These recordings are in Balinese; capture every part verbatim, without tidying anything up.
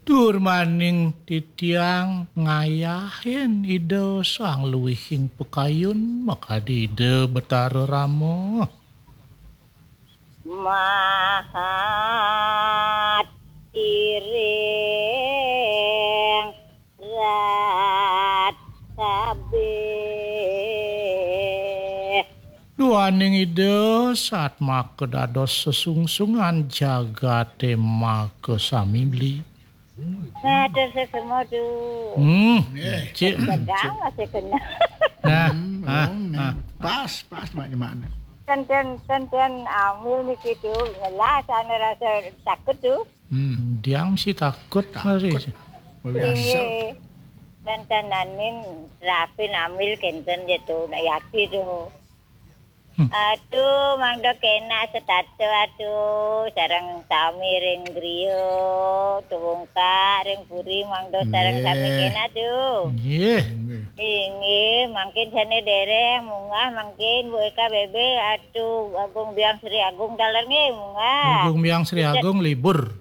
Tur maning titiang ngayahin Ida Sang Luihing Pakayun, makadi Ida Betara Rama. Mahat iring rat kabeh. Duaning Ida satmaka dados sesungsungan jagate maka samili. Matur sesama, Du. Hmm, cik. Sedang masih kena. Nah, Hmm, ah, oh, nah. Ah. Pas, pas, Mak Jemak. Tenten, tenten, ambil niki, Du. Ngelah sana rasa takut, Du. Hmm. Diang mesti takut, takut. Mari. Biasa. Inggih. Tenten nanin rapi namil kenten je, Du. Nak yati, Du. Hmm. Aduh, mangda kena setata, aduh, sareng sami ring griya, tuwungkak ring puri mangda sareng sami kena, aduh. Nggih. Inggih, mangkin sane dereng munggah mangkin Bu Eka Bebe, aduh, Agung Biang Sri Agung taler nggih munggah. Agung Biang Sri Agung libur.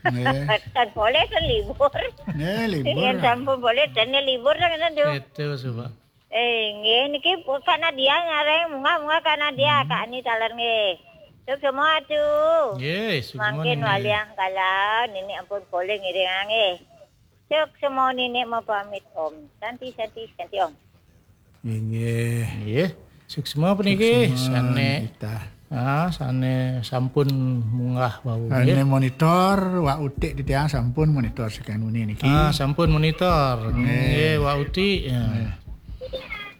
Nggih. Tan polih tan libur. Nggih, libur. Yen sampun polih tan libur ta ngeten, Du. Itu coba. Eh, nggih niki Kak Nadia nyareng, munggah-munggah Kak Nadia, hmm. Kak Ani taler nggih. Suk semua, Du. Nggih, suk semua. Mangkin nggih. Waliang kala nini ampun polih ngiring nggih. Suk semua nini mau pamit, Om. Santi, santi, santi, Om. Inggih. Nggih. Suksma puniki. Suksma sane kita. Ah, sane sampun munggah wau, sane nggih. Monitor, Wak Utik titiang sampun monitor saking wengi niki. Ah, sampun monitor. Nggih. Nggih, Wak Utik. Ya. Nggih.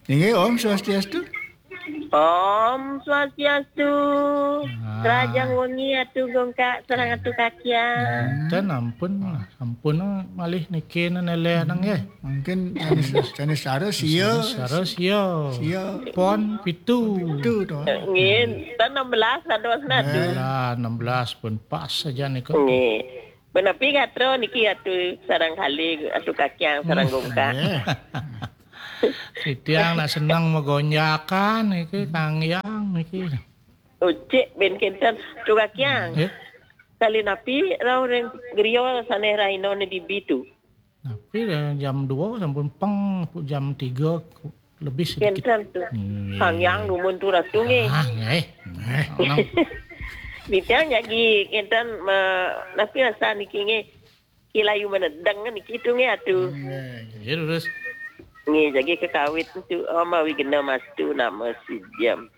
Inggih, Om Swastiastu. Om Swastiastu. Ah. Rahajeng wengi Atu Gongkak sareng Atu Kakiang. Ten ampun. Sampun malih niki neleh nang nggih. Mungkin Canis, Canis Sara sia. Canis Sara sia. Sia. Pon pitu. Pon pitu to. Nggih, tan enam belas dados nadu. Eh. Lah, enam belas pun pas saja niku. Nggih. Menapi gatra niki Atu sareng kalih, Atu Kakiang sareng Gongkak. Nggih. Titiang nak seneng magonjakan niki, Kang Yang niki. Ucik ben kenten, Atu Kakiang. Nggih. Kali napi rauh ring griya sane raina ne dibi tu? Napi, eh, jam dua sampun peng, jam tiga lebih sedikit. Kenten tu. Nggih. Kang Yang dumun tu Ratu nggih. Ah, nggih. Nggih. Nang. Titiang jagi kenten me-, napi rasa niki nggih. Ki layu menedeng niki tu nggih Atu. Nggih. Nggih, terus. Nggih, jagi kekawit tu, oh, mawi gena mastu nama si jam.